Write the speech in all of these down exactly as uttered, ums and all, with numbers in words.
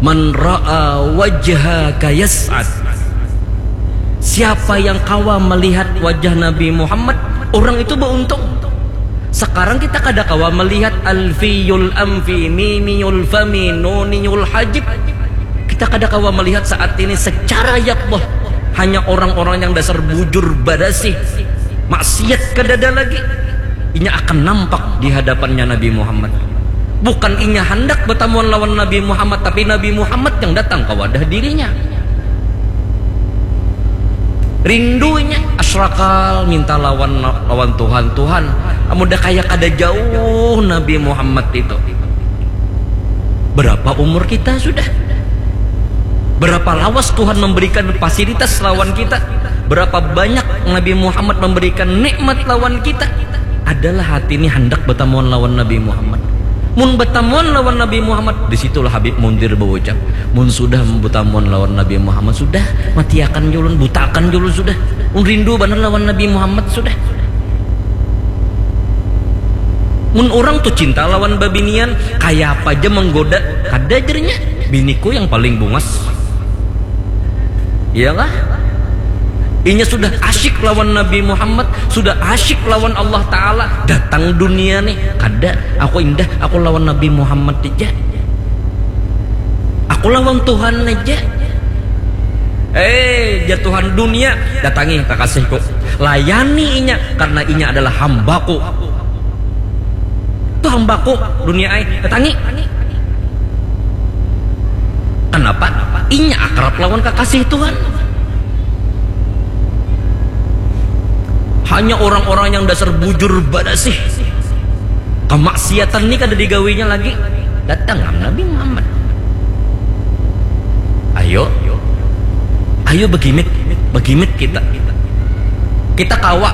Man ra'a wajhaka yas'ad. Siapa yang kawa melihat wajah Nabi Muhammad, orang itu beruntung. Sekarang kita kada kawa melihat alfiyul amfi, mimiyul fami, nuniyul hajib. Kita kada kawa melihat saat ini secara yakbah. Hanya orang-orang yang dasar bujur badasih, maksiat kadada lagi. Inya akan nampak di hadapannya Nabi Muhammad. Bukan inya handak batamuan lawan Nabi Muhammad, tapi Nabi Muhammad yang datang ka wadah dirinya. Rindunya asrakal minta lawan lawan Tuhan, Tuhan, amun dah kaya kada jauh Nabi Muhammad itu. Berapa umur kita sudah? Berapa lawas Tuhan memberikan fasilitas lawan kita? Berapa banyak Nabi Muhammad memberikan nikmat lawan kita? Adalah hati ini hendak bertemuan lawan Nabi Muhammad. Mun bertemuan lawan Nabi Muhammad, di situlah Habib Munzir berucap, mun sudah bertemuan lawan Nabi Muhammad, sudah, matiakan julun, butakan julun sudah. Mun rindu benar lawan Nabi Muhammad sudah. Mun orang tu cinta lawan babinian, kaya apa aja menggoda, kada jernya. Biniku yang paling bungas. Iya kah? Inya sudah asyik lawan Nabi Muhammad, sudah asyik lawan Allah Ta'ala. Datang dunia nih, kada. Aku indah, aku lawan Nabi Muhammad aja. Aku lawan Tuhan aja. Eh, jar Tuhan, dunia, datangi kakasihku. Layani inya, karena inya adalah hambaku. Tuh hambaku, dunia ai, datangi. Kenapa? Inya akrab lawan kakasih Tuhan. Hanya orang-orang yang dasar bujur badasih. Kemaksiatan ni kada digawinya lagi. Datang am Nabi Muhammad. Ayo. Ayo begimit, begimit kita. Kita kawa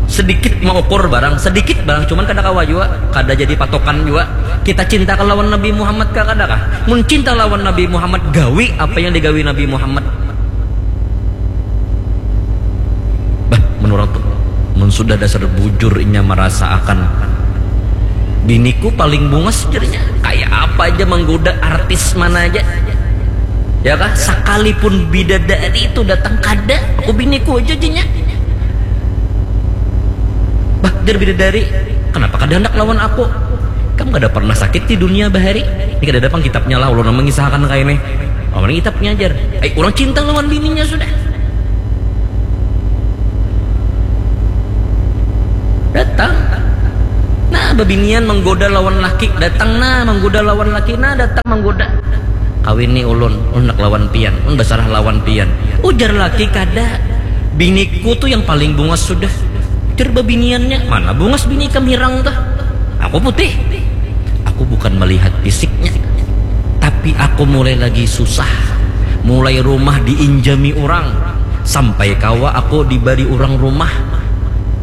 sedikit mengukur barang, sedikit barang, cuman kada kawa jua, kada jadi patokan jua. Kita cinta lawan Nabi Muhammad kah, kada kah? Mun cinta lawan Nabi Muhammad, gawi apa yang digawi Nabi Muhammad. Bah, menurut mun sudah dasar bujur inya merasa akan biniku paling bungas jadinya. Kayak apa aja menggoda artis mana aja. Ya kah? Sekalipun bidadari itu datang kada, aku biniku aja jadinya. Bah, jar bidadari, kenapa kada hendak lawan aku? Kamu kada pernah sakit di dunia bahari. Ini kada ada pang kitabnya lah, ulun mengisahkan kayak ini. Lawan kitabnya ajar. Ai, orang cinta lawan bininya sudah. Datang. Nah, babinian menggoda lawan laki, datang nah menggoda lawan laki, nah datang menggoda. Kawini ulun, ulun nak lawan pian, ulun basarah lawan pian. Ujar laki kada. Biniku tu yang paling bungas sudah. Ujar babiniannya, mana bungas bini ikam hirang tuh. Aku putih. Aku bukan melihat fisiknya, tapi aku mulai lagi susah. Mulai rumah diinjami orang, sampai kawa aku dibari orang rumah.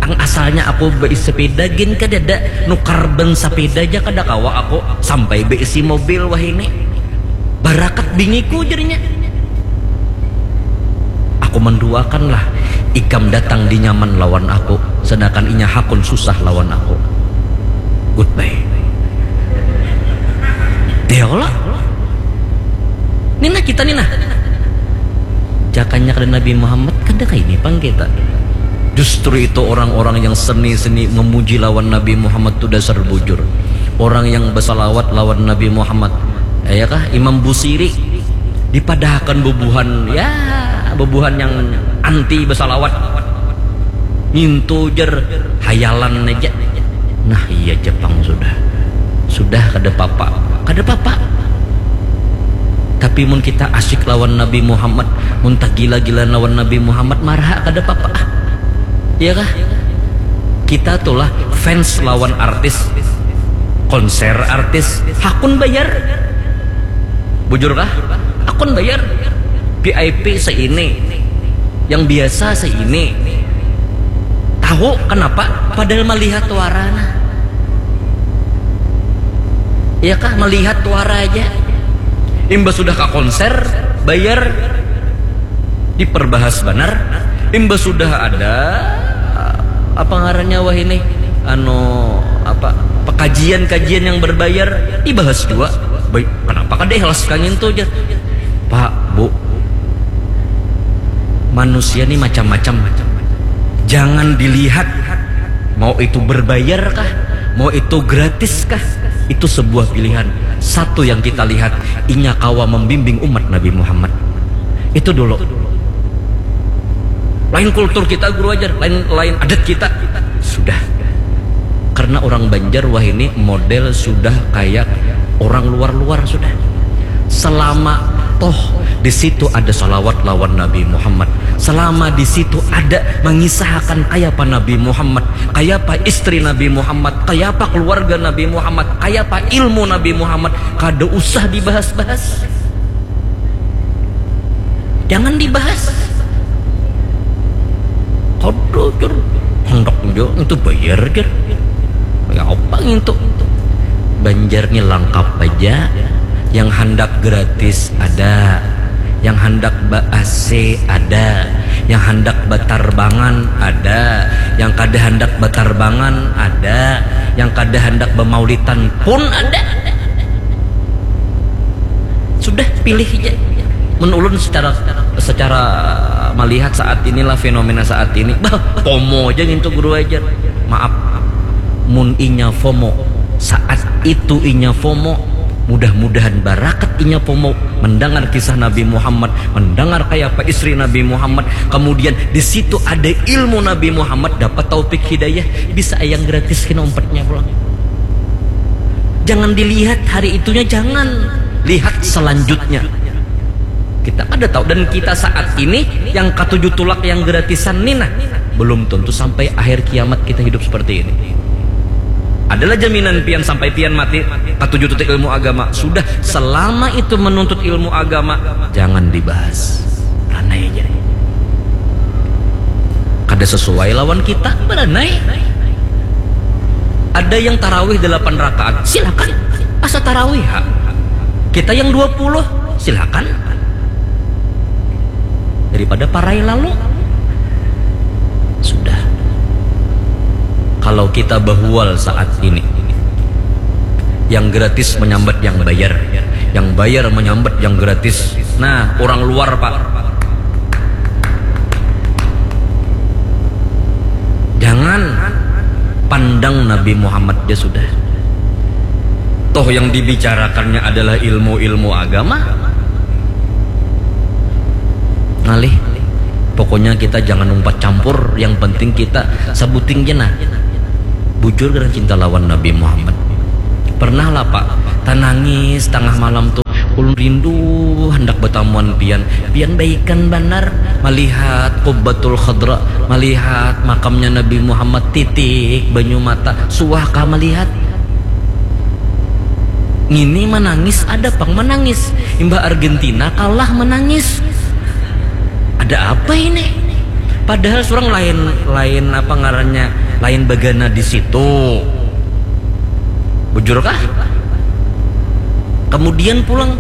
Ang asalnya aku beisi sepeda gin kadada, nukar ban sepeda aja kada kawa aku, sampai beisi mobil wahini. Barakat biniku jadinya. Aku menduakanlah ikam datang di nyaman lawan aku, sedangkan inya hakun susah lawan aku. Goodbye. Ya Allah. Nina kita nina. Jakanya kada Nabi Muhammad, kada kaini pang kita. Justru itu orang-orang yang seni-seni memuji lawan Nabi Muhammad tu dasar bujur. Orang yang bersalawat lawan Nabi Muhammad. Ya kah? Imam Busiri dipadahakan bubuhan, ya, bubuhan yang anti bersalawat. Ngintu jer hayalan aja. Nah, iya Jepang sudah. Sudah kada papa. Kada papa. Tapi mun kita asyik lawan Nabi Muhammad, mun tagila-gila lawan Nabi Muhammad, marah kada papa. Iya kah? Kita tulah fans lawan artis, konser artis, hakun bayar. Bujur kah? Hakun bayar. V I P seini, yang biasa seini. Tahu kenapa? Padahal melihat warana. Iya kah? Melihat wara aja. Imbah sudah ke konser, bayar, diperbahas banar. Imbah sudah ada apa ngarannya wah ini, anu, apa, pekajian-kajian yang berbayar, dibahas juga. Baik, kenapa kada ikhlas kangin tuh, jar? Pak, Bu, manusia nih macam-macam. Jangan dilihat mau itu berbayar kah, mau itu gratis kah. Itu sebuah pilihan. Satu yang kita lihat, inya kawa membimbing umat Nabi Muhammad. Itu dulu. Lain kultur kita, guru ajar, lain lain adat kita. Sudah. Karena orang Banjar wah ini model sudah kayak orang luar-luar sudah. Selama toh di situ ada salawat lawan Nabi Muhammad, selama di situ ada mengisahkan kayapa Nabi Muhammad, kayapa istri Nabi Muhammad, kayapa keluarga Nabi Muhammad, kayapa ilmu Nabi Muhammad, kada usah dibahas-bahas. Jangan dibahas. Kada, jar. Hendak jo itu bayar, jar. Ya apa ngintu? Banjar ni lengkap aja. Yang handak gratis ada, yang handak ba A C ada, yang handak batarbangan ada, yang kada handak batarbangan ada, yang kada handak bamaulitan pun ada. Sudah, pilih aja. Mun ulun secara secara melihat saat inilah, fenomena saat ini, bah, FOMO aja ngintu guru ajar. Maaf, mun inya FOMO, saat itu inya FOMO, mudah-mudahan barakat inya FOMO mendengar kisah Nabi Muhammad, mendengar kayapa istri Nabi Muhammad, kemudian di situ ada ilmu Nabi Muhammad, dapat taufik hidayah, bisa ayang gratis kena umpatnya pulang. Jangan dilihat hari itunya, jangan. Lihat selanjutnya. Kita kada tahu, dan kita saat ini yang katuju tulak yang gratisan ni nah, belum tentu sampai akhir kiamat kita hidup seperti ini. Adalah jaminan pian sampai pian mati katuju tutik ilmu agama. Sudah, selama itu menuntut ilmu agama, jangan dibahas. Ranai aja. Kada sesuai lawan kita, beranai. Ada yang tarawih delapan rakaat, silakan. Asa tarawih ha. Kita yang dua puluh, silakan. Daripada parai lalu. Sudah. Kalau kita bahual saat ini, yang gratis menyambat yang bayar, yang bayar menyambat yang gratis. Nah, orang luar, Pak. Jangan pandang Nabi Muhammad ja sudah. Toh yang dibicarakannya adalah ilmu-ilmu agama. Ngalih. Pokoknya kita jangan umpat campur, yang penting kita sabuting ja nah. Bujur kada cinta lawan Nabi Muhammad? Pernah lah, Pak, tanangis tangah malam tuh, ulun rindu handak batamuan pian. Pian baikan banar malihat Qubbatul Khadra, malihat makamnya Nabi Muhammad, titik banyu mata, suah kah malihat? Ngini manangis, ada pang manangis. Imbah Argentina kalah manangis. Ada apa ini? Padahal surang lain, lain apa ngarannya, lain bagana di situ. Bujur kah? Kemudian pulang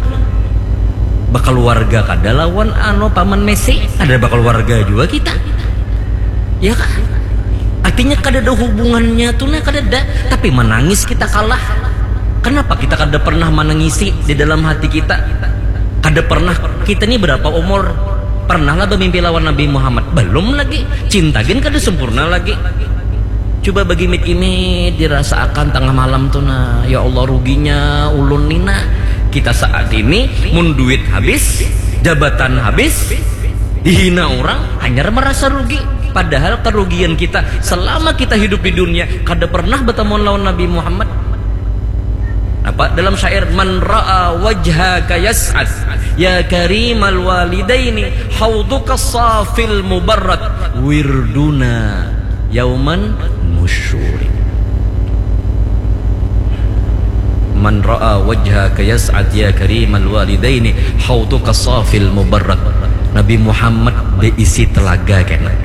bakaluarga kada lawan anu paman Messi, kada bakaluarga jua kita. Ya kah? Artinya kada ada hubungannya tuh nah, kada ada. Tapi manangis kita kalah. Kenapa kita kada pernah manangisi di dalam hati kita? Kada pernah. Kita ni berapa umur? Pernah lah bamimpi lawan Nabi Muhammad? Belum lagi. Cinta gin kada sempurna lagi. Coba bagimit-gimit dirasaakan tangah malam tu nah, ya Allah, ruginya ulun ni nah. Kita saat ini mun duit habis, jabatan habis, dihina orang, hanyar merasa rugi. Padahal kerugian kita selama kita hidup di dunia kada pernah bertemuan lawan Nabi Muhammad. Apa dalam syair, "Man ra'a wajhaka yas'ad, ya karimal walidaini, hauduka safil mubarrad, wirduna yauman nusyuri." Man ra'a wajhaka yas'ad, ya karimal walidaini, hauduka safil mubarrad. Nabi Muhammad beisi telaga kena.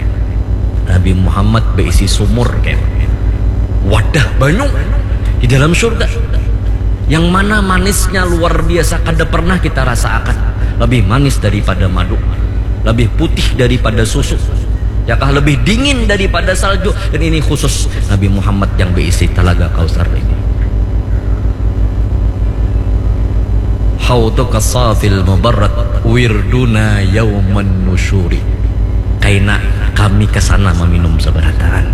Nabi Muhammad beisi sumur kena. Wadah banyu di dalam surga. Yang mana manisnya luar biasa, kada pernah kita rasakan. Lebih manis daripada madu, lebih putih daripada susu, yakah, lebih dingin daripada salju. Dan ini khusus Nabi Muhammad yang beisi Telaga Kausar ini. Haudhuka safil mubarrad wirduna yauman nusyuri. Kaina kami ke sana meminum sabarataan.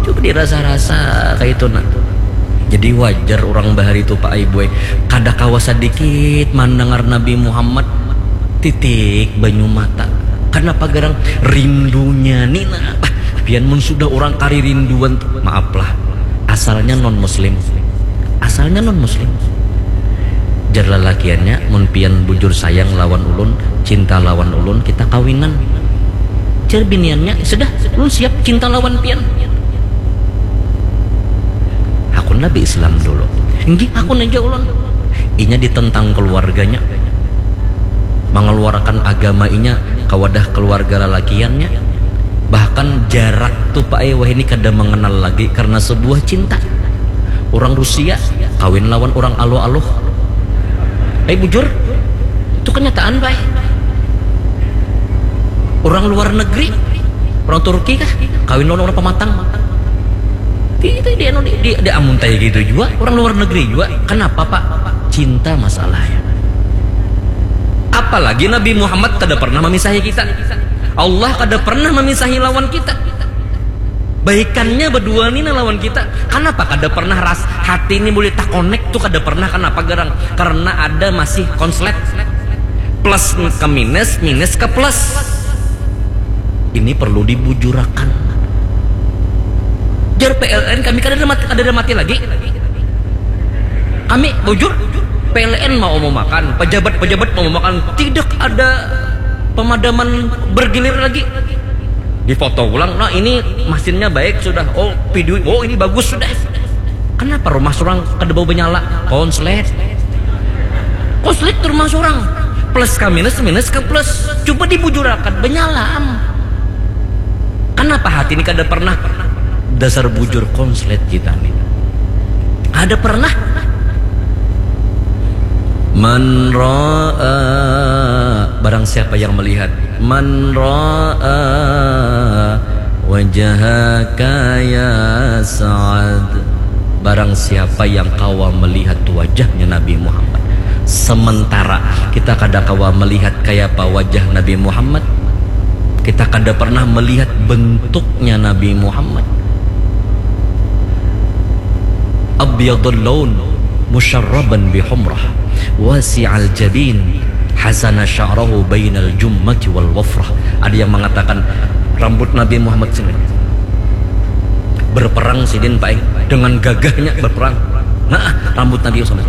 Coba dirasa-rasa kayak itu nak. Jadi wajar orang bahari itu Pak Ibu eh. Kada kawa sedikit mendengar Nabi Muhammad titik banyu mata. Kenapa garang rindunya ni nah. Pian mun sudah orang kari rinduan maaf lah. Asalnya non muslim. Asalnya non muslim. Jar lalakiannya, mun pian bujur sayang lawan ulun, cinta lawan ulun, kita kawinan. Jar biniannya, sudah, ulun siap cinta lawan pian. Hakun nabi Islam dulu. Enggih, hakun aja ulun. Inya ditentang keluarganya. Mengeluarkan agama inya ke wadah keluarga lalakiannya. Bahkan jarak tu Pak eh wah ini kada mengenal lagi karena sebuah cinta. Orang Rusia kawin lawan orang aluh-aluh. Eh bujur, itu kenyataan Pak eh. Orang luar negeri, orang Turki kah kawin lawan orang pematang. Itu di, di, di, di amun taya gitu juga orang luar negeri juga. Kenapa Pak? Cinta masalahnya. Apalagi Nabi Muhammad kada pernah memisahi kita. Allah kada pernah memisahi lawan kita. Baikannya berdua ni nah lawan kita. Kenapa kada pernah ras hati ini boleh takonek tuh kada pernah kenapa garang? Karena ada masih konslet plus ke minus, minus ke plus. Ini perlu dibujurakan. Jar P L N kami kada ada mati, kada ada mati lagi. Kami bujur P L N mau mau makan, pejabat-pejabat mau mau makan, tidak ada pemadaman bergilir lagi. Difoto ulang, nah ini mesinnya baik sudah. Oh, video, oh ini bagus sudah. Kenapa rumah surang kada bau menyala? Konslet. Konslet ke rumah surang. Plus ke minus, minus ke plus. Coba dibujurakan, menyala am. Kenapa hati ini kada pernah? Dasar bujur konslet kita nih. Ada pernah? Man ra'a, barang siapa yang melihat. Man ra'a wajhaka ya Sa'ad. Barang siapa yang kawa melihat wajahnya Nabi Muhammad. Sementara kita kada kawa melihat kayapa wajah Nabi Muhammad, kita kada pernah melihat bentuknya Nabi Muhammad. Abyadul laun musyarraban bihumrah wasi'al jabin hasana sya'rahu bainal jummati wal wafrah. Ada yang mengatakan rambut Nabi Muhammad sini berperang sidin paing dengan gagahnya berperang. Nah, rambut Nabi Muhammad